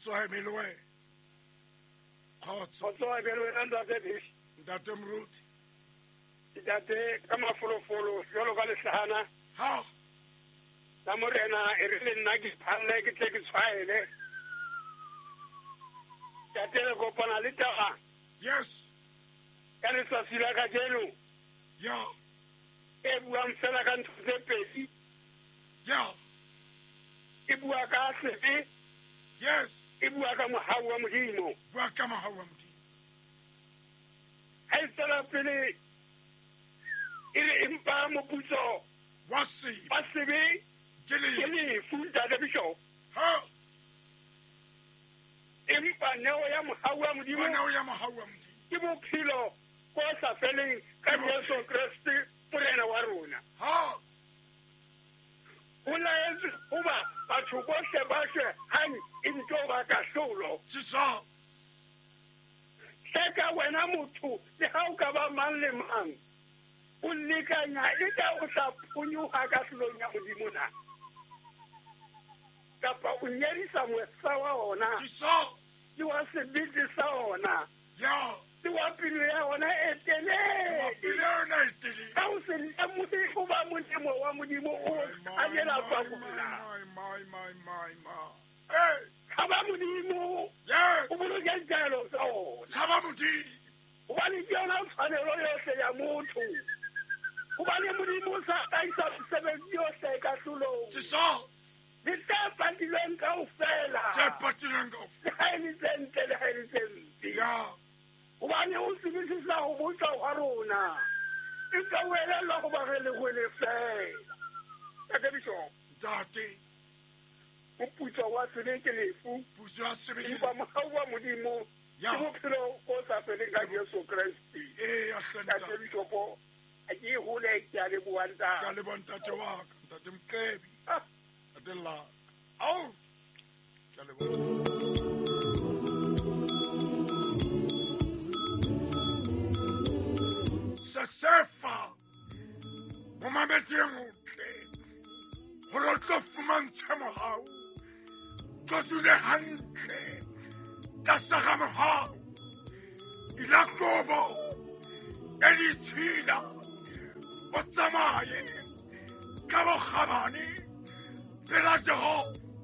Kgotso ha eme le wena. Kgotso. Kgotso ha eme le wena ntate Bish. Ntate Moruti. Ntate ka mafolofolo jwalo ka lehlahana. Ha. La morena e re le nna ke phalle ke tle ke tshwaele. Ntate re kopana le taba. Yes. Ka letsatsi la kajeno. Ya. E buang fela ka ntho tse pedi. Ya. E bua ka sebe. Yes. E bua ka mohau wa Modimo. Bua ka mohau wa Modimo. Ha e tswela pele e re empa moputso wa sebe. Wa sebe ke lefu ntate Bishop. Ha. Empa neo ya mohau wa Modimo. Neo ya mohau wa Modimo. Ke bophelo bo sa feleng ka Jesu Kreste Morena wa rona. Ha. Ho laetswe hoba batho bohle ba shwe hang e nto ba kahlolo. Jesus. Hleka wena motho le ha o ka ba mang le mang. O lekanya e ka o tla phonyoha kahlolong ya Modimo na? Kapa o nyedisa mosa wa ona. Jesus. Le wa sebete sa ona. Ya. Le wa pelo ya ona e telele. Wa pelo ya ona e telele. Ka o se lemohe hoba molemo wa Modimo o anyela pakula. My. Hey. Tshaba Modimo. Yes. O boloke ditaelo tsa ona. Tshaba Modimo. Hobane ke yona tshwanelo yohle ya motho. Hobane Modimo o sa hlahisa mesebetsi yohle kahlolong. Jesus. Le tse patilweng kaofela. Tse patilweng kaofela. Le ha e le tse ntle, le ha e le tse mpe. Ya. Hobane o tsebisisa ho botsa hwa rona. Empa o elellwa hoba re lehwele feela. Ntate Bishop. Ntate. Moputso wa sebe ke lefu. Putso ya sebe ke lefu. Empa mohau wa Modimo Ya. ke bophelo bo sa feleng ka Jesu Kreste. Ee, ya hle ntate. Ntate Bishop, ha ke hole ke a leboha ntate. Ke a leboha ntate wa ka, ntate Mqebi. Ah. Ntate Laka. Au. Ke a leboha. Sesefa. Momamedi e motle. Hore o tlo fumantshe mohau. Tlo dule hantle. Tlasa ga mohau. Ila kobo. E ditshila. O tsamaye. Ka bokgabane. Pela Jehova.